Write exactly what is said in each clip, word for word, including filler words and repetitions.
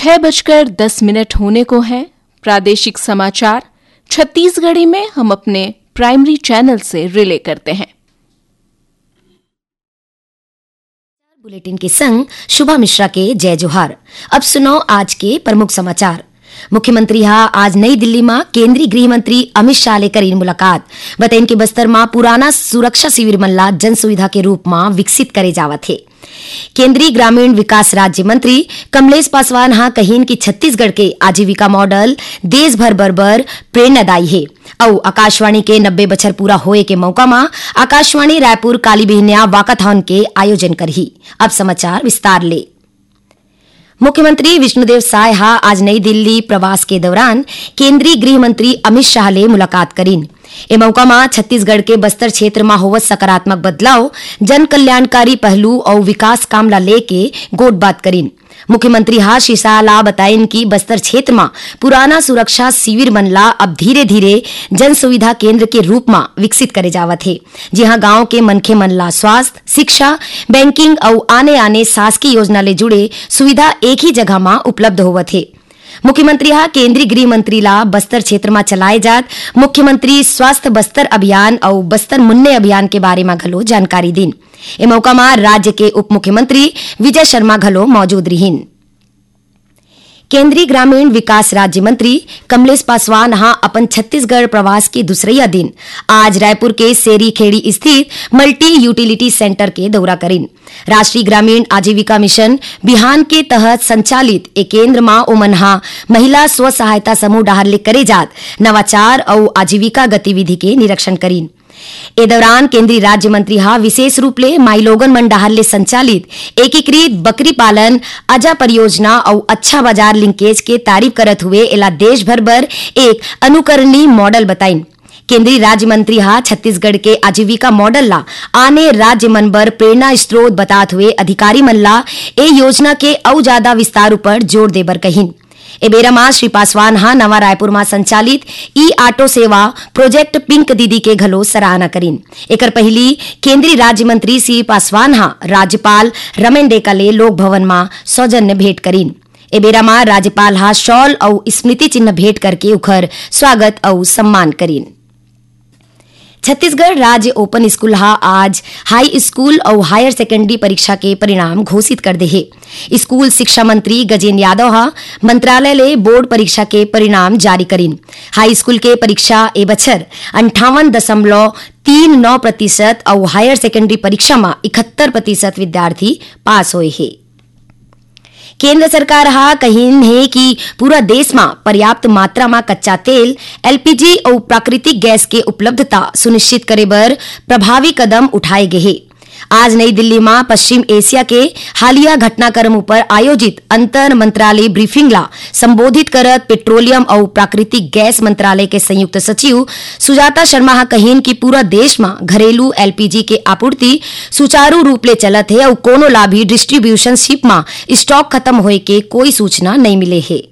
छह बजकर दस मिनट होने को है। प्रादेशिक समाचार छत्तीसगढ़ी में हम अपने प्राइमरी चैनल से रिले करते हैं। बुलेटिन के संग शुभा मिश्रा के जय जोहार। अब सुनो आज के प्रमुख समाचार। मुख्यमंत्री हा आज नई दिल्ली म केंद्रीय गृह मंत्री अमित शाह ले करीन मुलाकात। बतईन के बस्तर म पुराना सुरक्षा शिविर मन ला जन सुविधा के रूप म विकसित करे जावत हे। केंद्रीय ग्रामीण विकास राज्य मंत्री कमलेश पासवान हा कहिन कि छत्तीसगढ़ के आजीविका मॉडल देश भर बर बर प्रेरणादायी हे। अउ आकाशवाणी के नब्बे बछर पूरा होए के मौका म आकाशवाणी रायपुर काली बिहनिया वाकाथॉन के आयोजन करही। अब समाचार विस्तार ले। मुख्यमंत्री विष्णुदेव साय हा आज नई दिल्ली प्रवास के दौरान केंद्रीय गृह मंत्री अमित शाह ले मुलाकात करीन। ए मौका म छत्तीसगढ़ के बस्तर क्षेत्र म होवत सकारात्मक बदलाव, जन कल्याणकारी पहलू अउ विकास काम ला लेके गोठबात करीन। मुख्यमंत्री हा श्री शाह ला बताइन कि बस्तर क्षेत्र म पुराना सुरक्षा शिविर मन ला अब धीरे-धीरे जन सुविधा केंद्र के रूप म विकसित करे जावत हे, जिहां गांव के मनखे मन ला स्वास्थ्य, शिक्षा, बैंकिंग अउ आने-आने शासकीय योजना ले जुड़े सुविधा एक ही जगह म उपलब्ध होवत हे। मुख्यमंत्री हा केंद्रीय गृह मंत्री ला बस्तर क्षेत्र म चलाए जात मुख्यमंत्री स्वास्थ्य बस्तर अभियान अउ बस्तर मुन्ने अभियान के बारे म घलो जानकारी दीन। ए मौका म राज्य के उप मुख्यमंत्री विजय शर्मा घलो मौजूद रिहीन। केंद्रीय ग्रामीण विकास राज्य मंत्री कमलेश पासवान हा अपन छत्तीसगढ़ प्रवास के दूसरइया दिन आज रायपुर के सेरी खेड़ी स्थित मल्टी यूटिलिटी सेंटर के दौरा करीन। राष्ट्रीय ग्रामीण आजीविका मिशन बिहान के तहत संचालित ए केंद्र म ओमन हा महिला स्व सहायता समूह डहार ले करे जात नवाचार अउ आजीविका गतिविधि के निरीक्षण करीन। ए दौरान केंद्रीय राज्य मंत्री हा विशेष रूप ले माईलोगन मन डहार ले संचालित एकीकृत बकरी पालन अजा परियोजना अउ अच्छा बाजार लिंकेज के तारीफ करत हुए एला देश भर बर एक अनुकरणीय मॉडल बताइन। केंद्रीय राज्य मंत्री हा छत्तीसगढ़ के आजीविका मॉडल ला आने राज्य मन बर प्रेरणा स्रोत बतात हुए अधिकारी मन ला ए योजना के अउ ज्यादा विस्तार ऊपर जोर देबर कहिन। ए बेरा म श्री पासवान हा नवा रायपुर म संचालित ई ऑटो सेवा प्रोजेक्ट पिंक दीदी के घलो सराहना करीन। एकर पहिली केंद्रीय राज्य मंत्री श्री पासवान हा राज्यपाल रमेन डेका ले लोक भवन म सौजन्य भेंट करीन। ए बेरा म राज्यपाल हा शॉल अउ स्मृति चिन्ह भेंट करके उखर स्वागत अउ सम्मान करीन। छत्तीसगढ़ राज्य ओपन स्कूल हा आज हाई स्कूल अउ हायर सेकेंडरी परीक्षा के परिणाम घोषित कर दे हे। स्कूल शिक्षा मंत्री गजेंद्र यादव हा मंत्रालय ले बोर्ड परीक्षा के परिणाम जारी करीन। हाई स्कूल के परीक्षा ए बछर अंठावन दशमलव तीन नौ प्रतिशत अउ हायर सेकेंडरी परीक्षा म इकहत्तर प्रतिशत विद्यार्थी पास होए हे। केंद्र सरकार हा कहिन हे कि पूरा देश म पर्याप्त मात्रा म कच्चा तेल, एलपीजी अउ प्राकृतिक गैस के उपलब्धता सुनिश्चित करे बर प्रभावी कदम उठाए गे हे। आज नई दिल्ली म पश्चिम एशिया के हालिया घटनाक्रम ऊपर आयोजित अंतर मंत्रालय ब्रीफिंग ला संबोधित करत पेट्रोलियम अउ प्राकृतिक गैस मंत्रालय के संयुक्त सचिव सुजाता शर्मा हा कहिन कि पूरा देश म घरेलू एलपीजी के आपूर्ति सुचारू रूप ले चलत हे अउ कोनो ला भी डिस्ट्रीब्यूशन शिप म स्टॉक खत्म होए के कोई सूचना नइ मिले हे।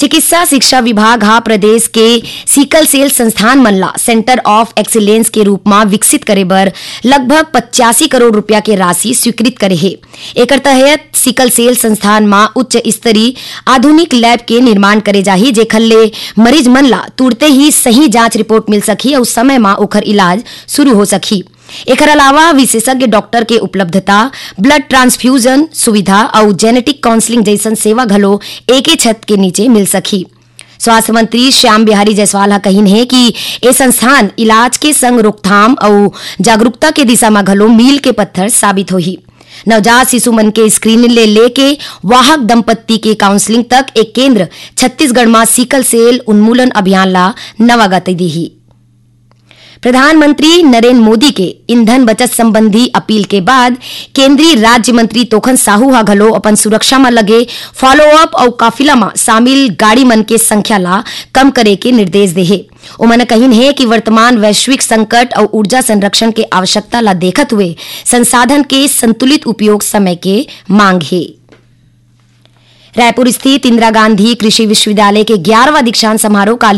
चिकित्सा शिक्षा विभाग हा प्रदेश के सिकल सेल संस्थान मन ला सेंटर ऑफ एक्सीलेंस के रूप म विकसित करे बर लगभग पचासी करोड़ रुपया के राशि स्वीकृत करे हे। एकर तहत सिकल सेल संस्थान म उच्च स्तरीय आधुनिक लैब के निर्माण करे जाही, जेखर ले मरीज मन ला तुरते ही सही जांच रिपोर्ट मिल सकही अउ समय म ओखर इलाज शुरू हो सकही। एखर अलावा विशेषज्ञ डॉक्टर के उपलब्धता, ब्लड ट्रांसफ्यूजन सुविधा अउ जेनेटिक काउंसलिंग जइसन सेवा घलो एके छत के नीचे मिल सकही। स्वास्थ्य मंत्री श्याम बिहारी जायसवाल ह कहिन हे कि ए संस्थान इलाज के संग रोकथाम अउ जागरूकता के दिशा म घलो मील के पत्थर साबित होही। नवजात शिशु मन के स्क्रीनिंग ले लेके वाहक दंपत्ति के काउंसलिंग तक ए केंद्र छत्तीसगढ़ म सिकल सेल उन्मूलन अभियान ला नवा गति दीही। प्रधानमंत्री नरेंद्र मोदी के ईंधन बचत संबंधी अपील के बाद केंद्रीय राज्य मंत्री तोखन साहू ह घलो अपन सुरक्षा म लगे फॉलोअप अउ काफिला म शामिल गाड़ी मन के संख्या ला कम करे के निर्देश दे हे। ओमन कहिन हे कि वर्तमान वैश्विक संकट अउ ऊर्जा संरक्षण के आवश्यकता ला देखत हुए संसाधन के संतुलित उपयोग समय के मांग हे। रायपुर स्थित इंदिरा गांधी कृषि विश्वविद्यालय के ग्यारहवाँ दीक्षांत समारोह काली